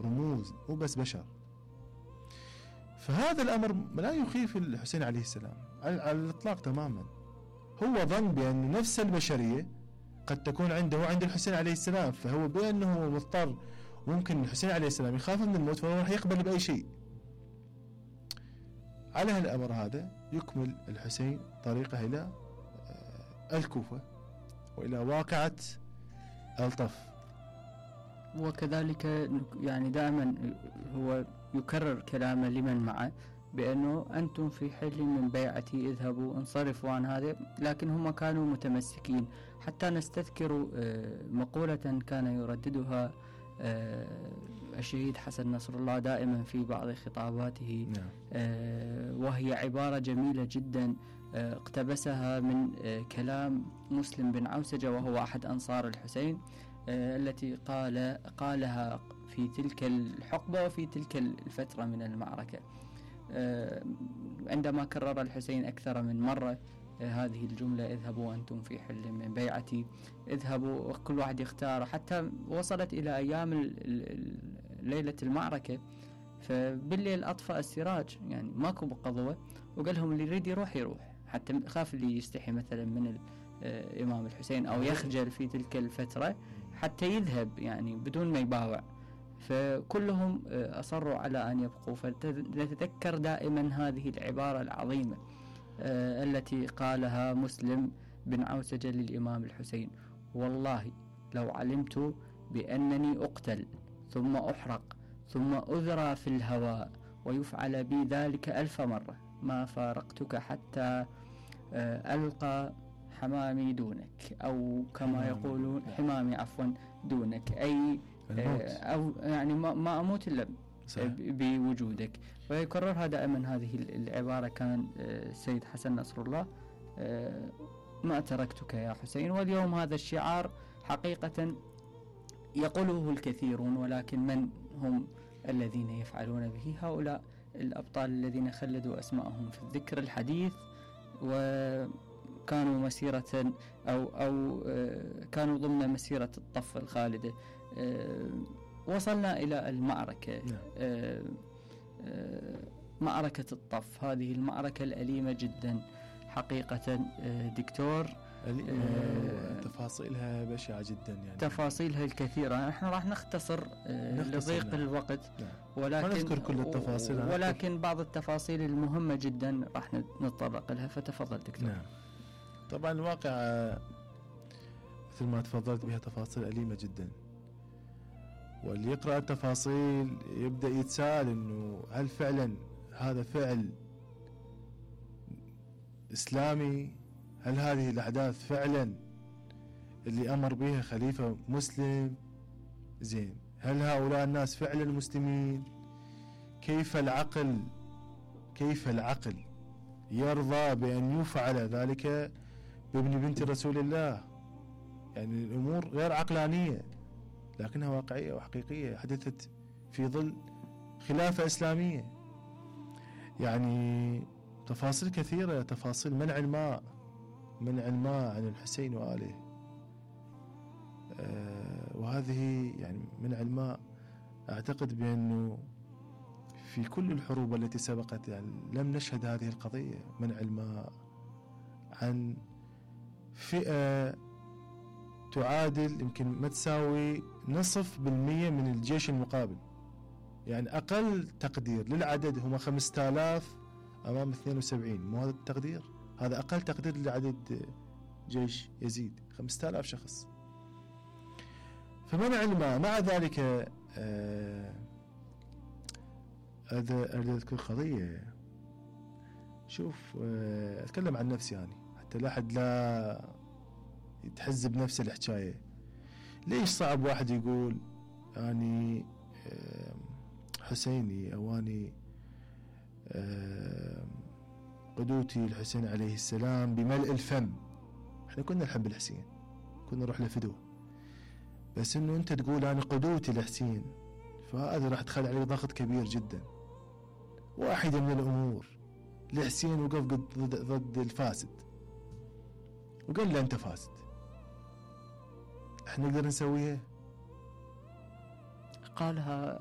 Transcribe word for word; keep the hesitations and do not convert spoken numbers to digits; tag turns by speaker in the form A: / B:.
A: رموز مو بس بشر. فهذا الأمر لا يخيف الحسين عليه السلام على الإطلاق تماما. هو ظن بأن نفس البشرية قد تكون عنده وعند الحسين عليه السلام، فهو بأنه مضطر ممكن الحسين عليه السلام يخاف من الموت فهو راح يقبل بأي شيء. على هالأمر هذا يكمل الحسين طريقه إلى الكوفة وإلى واقعة الطف.
B: وكذلك يعني دائما هو يكرر كلامه لمن معه بأنه أنتم في حل من بيعتي، اذهبوا انصرفوا عن هذا، لكن هم كانوا متمسكين. حتى نستذكر مقولة كان يرددها الشهيد حسن نصر الله دائما في بعض خطاباته، وهي عبارة جميلة جدا اقتبسها من كلام مسلم بن عوسجة وهو أحد أنصار الحسين، التي قال قالها في تلك الحقبة وفي تلك الفترة من المعركة، عندما كرر الحسين أكثر من مرة هذه الجملة: اذهبوا أنتم في حل من بيعتي، اذهبوا. كل واحد يختار، حتى وصلت إلى أيام ليلة المعركة، فبالليل أطفأ السراج، يعني ماكو بقضوة، وقال لهم اللي يريد يروح يروح، حتى خاف اللي يستحي مثلا من الإمام الحسين أو يخجل في تلك الفترة حتى يذهب يعني بدون ما يباوع، فكلهم أصروا على أن يبقوا. فنتذكر دائما هذه العبارة العظيمة التي قالها مسلم بن عوسجة للإمام الحسين: والله لو علمت بأنني أقتل ثم أحرق ثم أذرى في الهواء ويفعل بي ذلك ألف مرة ما فارقتك حتى ألقى حمامي دونك، أو كما يقولون حمامي عفوا دونك، أي أو يعني ما أموت إلا بوجودك. ويكررها دائما هذه العبارة كان السيد حسن نصر الله: ما تركتك يا حسين. واليوم هذا الشعار حقيقة يقوله الكثيرون، ولكن من هم الذين يفعلون به؟ هؤلاء الأبطال الذين خلدوا أسماءهم في الذكر الحديث، وكانوا مسيرة أو أو كانوا ضمن مسيرة الطف الخالدة. وصلنا إلى المعركة، معركة الطف، هذه المعركة الأليمة جدا حقيقة دكتور،
A: تفاصيلها بشعة جدا، يعني
B: تفاصيلها الكثيرة. نحن راح نختصر لضيق الوقت،
A: ولكن نذكر كل التفاصيل،
B: ولكن بعض التفاصيل المهمة جدا راح نتطرق لها، فتفضل دكتور.
A: نعم. طبعا الواقع مثل ما تفضلت بها تفاصيل أليمة جدا، واللي يقرأ التفاصيل يبدأ يتساءل إنه هل فعلا هذا فعل إسلامي؟ هل هذه الأحداث فعلا اللي أمر بها خليفة مسلم؟ زين، هل هؤلاء الناس فعلا مسلمين؟ كيف العقل كيف العقل يرضى بأن يفعل ذلك بابن بنت رسول الله؟ يعني الأمور غير عقلانية لكنها واقعية وحقيقية، حدثت في ظل خلافة إسلامية. يعني تفاصيل كثيرة، تفاصيل منع الماء منع الماء عن الحسين وآله، آه وهذه يعني منع الماء أعتقد بأنه في كل الحروب التي سبقت يعني لم نشهد هذه القضية، منع الماء عن فئة تعادل يمكن ما تساوي نصف بالمية من الجيش المقابل. يعني أقل تقدير للعدد هم خمسة آلاف أمام اثنين وسبعين، مو هذا التقدير؟ هذا أقل تقدير لعدد جيش يزيد، خمسة آلاف شخص. فمنع الماء مع ذلك هذا أريد أذكر قضية. شوف آه أتكلم عن نفسي يعني حتى لا أحد لا يتحز بنفس الحكاية. ليش صعب واحد يقول أني آه حسيني أو أني آه قدوتي الحسين عليه السلام بملء الفم؟ احنا كنا نحب الحسين، كنا نروح لفدوه، بس انه انت تقول انا قدوتي الحسين، فهذا راح تخلي عليه ضغط كبير جدا. واحدة من الامور الحسين وقف ضد, ضد الفاسد وقال له انت فاسد، احنا نقدر نسويها؟
B: قالها